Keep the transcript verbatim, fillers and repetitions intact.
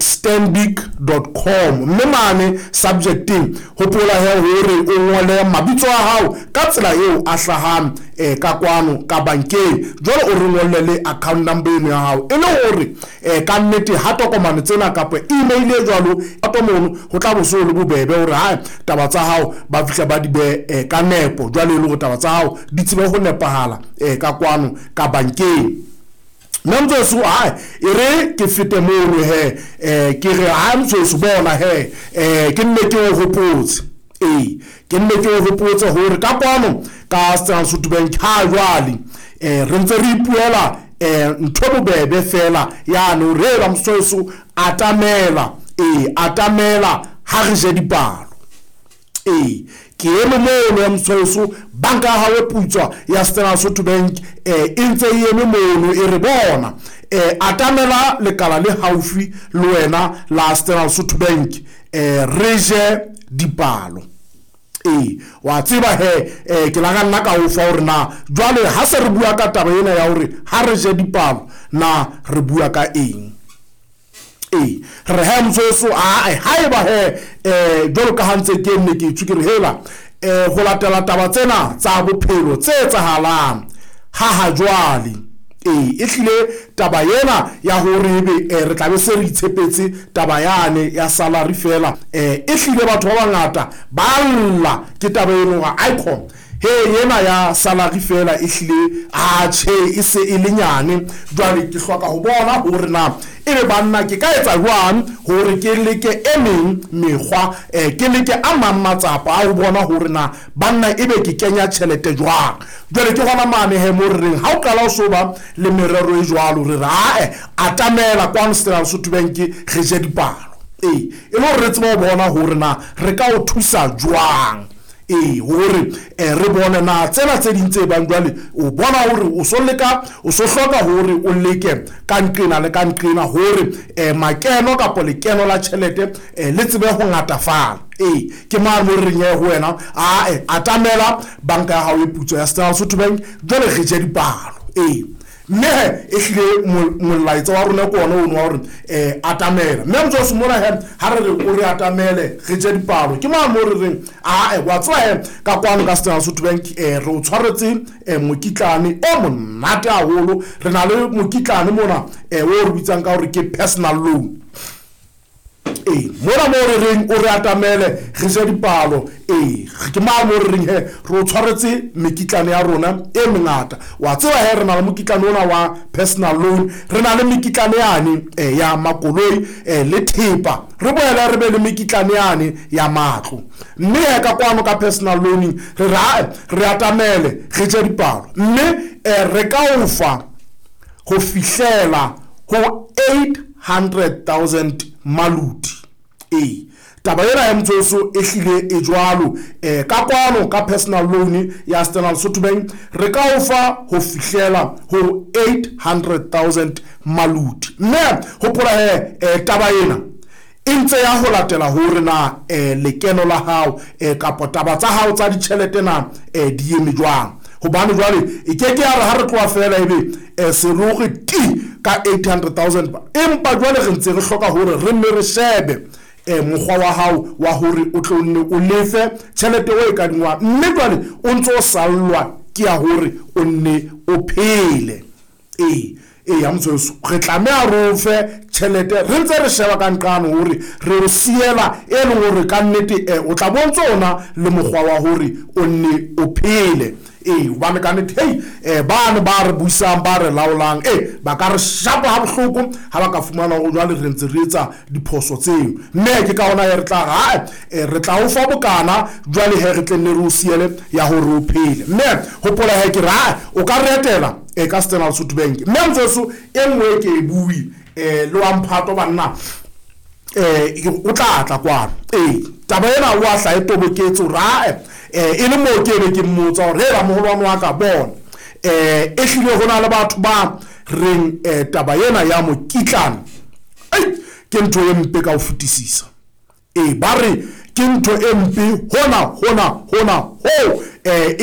stanbic dot com mme mane subjecteng hopola he hore o ngole mabitso a hao ka tsela eo a hlahang eh, ka kwano ka bankeng. Jwale o re ngolle le account number eno ya hao e le hore eh, ka nnete ha tokomane tsena kapa email e jwalo ato mono ho tla bo so le bobebe hore ha taba tsa hao ba fihla ba di be eh, ka nepo, jwale e le hore taba tsa hao di tsebe ho nepahala eh, ka kwano ka bankeng. Nna motsoso hai e re ke fete mono he eh, ke re ha motsoso bona he eh, ke nne ke o hopotse ee ke nne ke o hopotse hore ka kwano ka Standard Sotho Bank ha jwale eh, re ntse re ipuela eh, ntho bobebe fela yane hore hela motsoso atamela ee atamela ha re je dipalo. Ee ke eme mono ya motsoso banka ya hao e putswa ya Standard Sotho Bank eh, e ntse e eme mono e re bona eh, atamela lekala le haufi le wena la Standard Sotho Bank eh, re je dipalo. Ee wa tseba he eh, ke la ka nna ka o fa hore na jwale ha se re bua ka taba ena ya hore ha re je dipalo na re bua ka eng. Ee re he motsoso ae haeba he eh, jwalo ka ha ntse ke nne ke tswe ke re hela eh, ho latela taba tsena tsa bophelo tse etsahalang ha ha jwale ee e hlile taba ena ya hore ebe eh, re tla be se re itshepetse taba yane ya salary fela eh, e hlile batho ba bangata ba lla ke taba eno ga icon he ena ya salary fela e hlile a tjhe e se e le nyane. Jwale ke hloka ho bona hore na ebe banna ke ka etsa jwang hore ke leke e meng mekgwa eh, ke leke a mang matsapa a ho bona hore na banna ebe ke kenya tjhelete jwang. Jwale ke hona mane he mo re reng ha o qala o so ba le merero e jwalo re re ae atamela kwano Standard Sotho Bank re je dipalo ee e le hore re tsebe ho bona hore na re ka o thusa jwang. Ee hore eh, re bone na tsena tse ding tse bang jwale o bona hore o so leka o so hloka hore o leke ka nqena le ka nqena hore eh, makeno kapa lekeno la tjhelete eh, le tsebe ho ngatafala. Ee ke mane mo re reng ho wena ae atamela banka ya hao e putswa ya Standard Sotho Bank jwale re je dipalo. Ee mme he e hlile molaetsa wa rona ke ona ono wa hore eh, atamela mme motsoso mona he ha re re o re atamele re je dipalo ke mane mo re reng ae wa tseba he ka kwano ka Standard Sotho Bank eh, re o tshwaretse eh, mokitlane o monate haholo. Re na le mokitlane mona eh, o re bitsang ka hore ke personal loan. Ee mona mo re reng o re atamele re je dipalo ee ke mane mo re reng he re o tshwaretse mekitlane ya rona e mengata. Wa tseba he re na le mokitlane ona wa personal loan, re na le mekitlane yane eh, ya makoloi eh, le thepa, re boela re be le mekitlane yane ya matlo. Mme he ka kwano ka personal loaning re re re atamele re je dipalo mme eh, re ka o fa ho fihlela ho eight hundred thousand maluti. Ee taba ena ya motsoso e hlile e jwalo eh, ka kwano ka personal loan ya Standard Sotho Bank re ka o fa ho fihlela ho eight hundred thousand maluti. Mme hopola he eh, taba ena e ntse ya ho latela hore na eh, lekeno la hao eh, kapa taba tsa hao tsa ditjhelete na eh, di eme jwang. Hobane jwale e ke ke ya re ha re tloha fela ebe eh, seroge ti ka eight hundred thousand empa jwale re ntse re hloka hore re nne re shebe eh, mokgwa wa hao wa hore o tlo nne o lefe tjhelete o e kadingwang mme jwale o ntso o sallwa ke ya hore o nne o phele. Ee ee ya motsoso re tlameha re o fe tjhelete re ntse re sheba ka nqane hore re o siela e leng hore ka nnete eh, o tla bontse ona le mokgwa wa hore o nne o phele. Ee hobane ka nnete hei eh, bane ba re busang ba re laolang ee ba ka re shapa ha bohloko ha ba ka fumana hore jwale re ntse re etsa diphoso tseo. Mme ke ka hona he re tla re, ha, eh, re tla o fa bokana jwale he re tle nne re o siele ya hore o phele. Mme hopola he ke re, ha, o ka re etela eh, ka Standard Sotho Bank. Mme motsoso e nngwe ke e bue eh, le wa mphato banna eh, o tla tla kwano. Ee taba ena o a hla e toboketse hore ae eh, e le moo ke be ke mmotsa hore hela moholwane wa ka bona eh, e hlile ho na le batho ba reng eh, taba ena ya mokitlane ei ke ntho e mpe ka ho fetisisa. Ee ba re ke ntho e mpe hona hona hona ho eh,